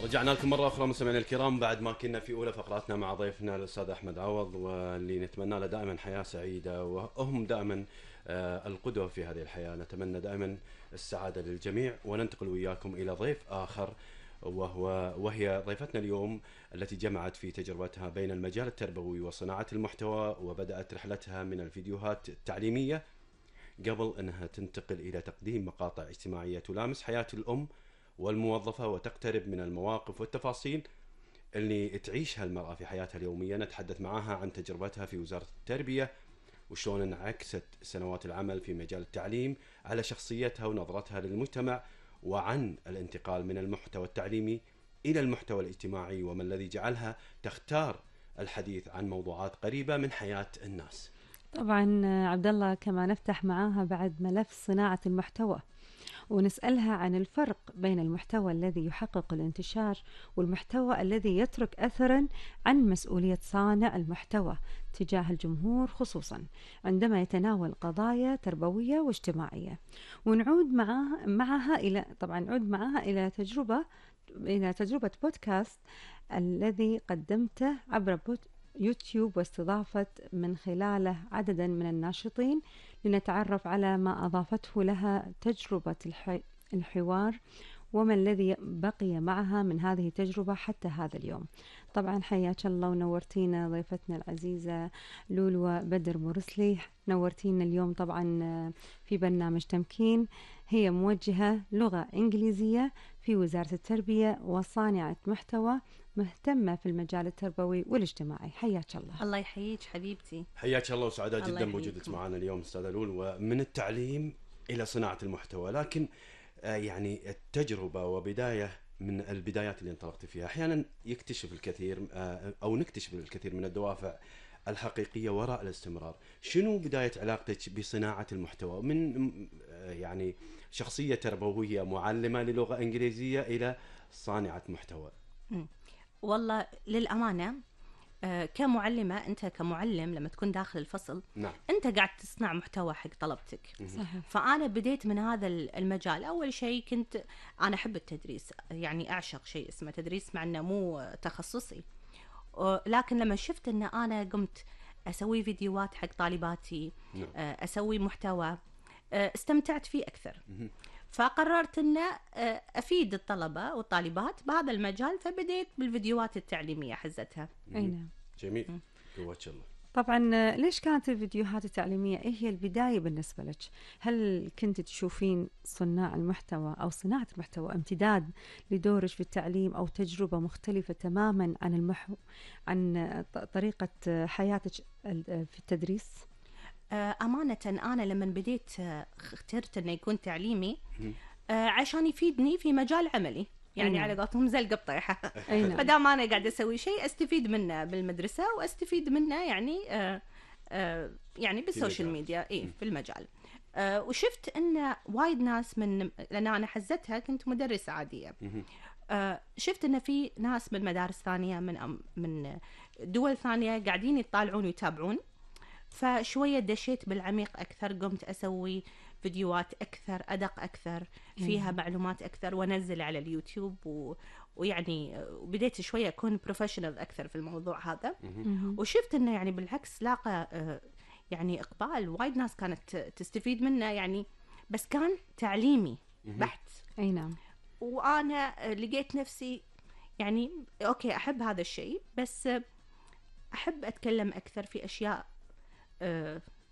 رجعنا لكم مرة أخرى مستمعينا الكرام بعد ما كنا في أولى فقراتنا مع ضيفنا الأستاذ أحمد عوض، واللي نتمنى له دائما حياة سعيدة، وهم دائما القدوة في هذه الحياة. نتمنى دائما السعادة للجميع، وننتقل وياكم إلى ضيف آخر وهي ضيفتنا اليوم التي جمعت في تجربتها بين المجال التربوي وصناعة المحتوى، وبدأت رحلتها من الفيديوهات التعليمية قبل أنها تنتقل إلى تقديم مقاطع اجتماعية تلامس حياة الأم والموظفة وتقترب من المواقف والتفاصيل اللي تعيشها المرأة في حياتها اليومية. نتحدث معها عن تجربتها في وزارة التربية وشلون انعكست سنوات العمل في مجال التعليم على شخصيتها ونظرتها للمجتمع، وعن الانتقال من المحتوى التعليمي إلى المحتوى الاجتماعي، وما الذي جعلها تختار الحديث عن موضوعات قريبة من حياة الناس. طبعا عبد الله، كما نفتح معاها بعد ملف صناعة المحتوى ونسألها عن الفرق بين المحتوى الذي يحقق الانتشار والمحتوى الذي يترك أثرا عن مسؤولية صانع المحتوى تجاه الجمهور، خصوصا عندما يتناول قضايا تربوية واجتماعية. ونعود معها إلى تجربة بودكاست الذي قدمته عبر يوتيوب، واستضافت من خلاله عددا من الناشطين لنتعرف على ما أضافته لها تجربة الحوار، وما الذي بقي معها من هذه التجربة حتى هذا اليوم. طبعا حياك الله ونورتينا ضيفتنا العزيزة لولو بدر مرسلي، نورتينا اليوم طبعا في برنامج تمكين. هي موجهة لغة إنجليزية في وزارة التربية وصانعة محتوى مهتمة في المجال التربوي والاجتماعي. حياك الله. الله يحييك حبيبتي. حياك الله وسعداء جدا بوجودك معنا اليوم أستاذة لول، ومن التعليم إلى صناعة المحتوى. لكن يعني التجربة وبداية من البدايات اللي انطلقت فيها، أحيانا يكتشف الكثير أو نكتشف الكثير من الدوافع الحقيقية وراء الاستمرار. شنو بداية علاقتك بصناعة المحتوى من يعني شخصية تربوية معلمة للغة إنجليزية إلى صانعة محتوى؟ والله للأمانة كمعلمة، أنت كمعلم لما تكون داخل الفصل، نعم، أنت قاعد تصنع محتوى حق طلبتك. صحيح. فأنا بديت من هذا المجال. أول شيء كنت أنا أحب التدريس، يعني أعشق شيء اسمه تدريس مع أنه مو تخصصي، لكن لما شفت أن أنا قمت أسوي فيديوهات حق طالباتي، نعم، أسوي محتوى، استمتعت فيه أكثر. فقررت أن أفيد الطلبة والطالبات بهذا المجال، فبديت بالفيديوهات التعليمية حزتها. أي نعم. جميل. قوتش الله. طبعا ليش كانت الفيديوهات التعليمية هي البداية بالنسبة لك؟ هل كنت تشوفين صناع المحتوى أو صناعة المحتوى امتداد لدورك في التعليم، أو تجربة مختلفة تماما عن طريقة حياتك في التدريس؟ أمانة أنا لما بديت اخترت أنه يكون تعليمي عشان يفيدني في مجال عملي، يعني على قولتهم زلقة بطيحة. فدام أنا قاعدة أسوي شيء أستفيد منه بالمدرسة وأستفيد منه يعني بالسوشيال ميديا في المجال. وشفت أن وايد ناس لأن أنا حزتها كنت مدرسة عادية، شفت أن في ناس من مدارس ثانية من دول ثانية قاعدين يطالعون ويتابعون، فشوية دشيت بالعميق أكثر، قمت أسوي فيديوهات أكثر، أدق أكثر، فيها معلومات أكثر، ونزل على اليوتيوب ويعني بديت شوية أكون بروفيشنال أكثر في الموضوع هذا. وشفت أنه يعني بالعكس لاقى يعني إقبال، وايد ناس كانت تستفيد منه يعني، بس كان تعليمي بحت. أي نعم. وأنا لقيت نفسي يعني أوكي أحب هذا الشيء، بس أحب أتكلم أكثر في أشياء